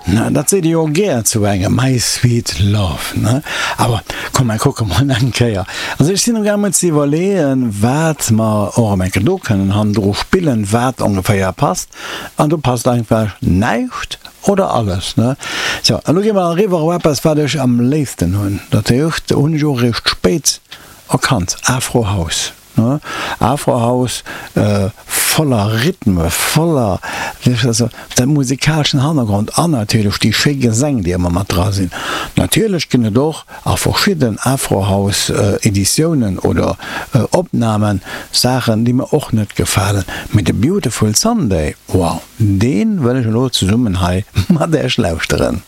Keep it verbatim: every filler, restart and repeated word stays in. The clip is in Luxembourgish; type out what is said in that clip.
Na, dat seet ee jo gär zu engem, my sweet love, ne? Awer komm, mer kucke mol eng Kéier. Also ech sinn amgaangen ze iwwerleeën, wat mer och eng Kéier do kënnen hannendru spillen, wat ongeféier passt. An do passt einfach näischt oder alles, ne? Sou, elo gi mer eriwwer op eppes, wat ech am léifsten hunn. Dat heescht, hunn ech och eréischt spéit erkannt, Afro House. Afro-House voller Rhythme, voller dat musikaleschen Hannergrond an natierlech déi schéi Gesäng, déi ëmmer mat dra sinn. Natierlech ginn et och a verschidden Afro-House-Editiounen oder Opnamen Saachen, déi mer och net gefalen, mee de Beautiful Sunday, wow, dee wëll ech elo zesummen hei mat Iech lauschteren.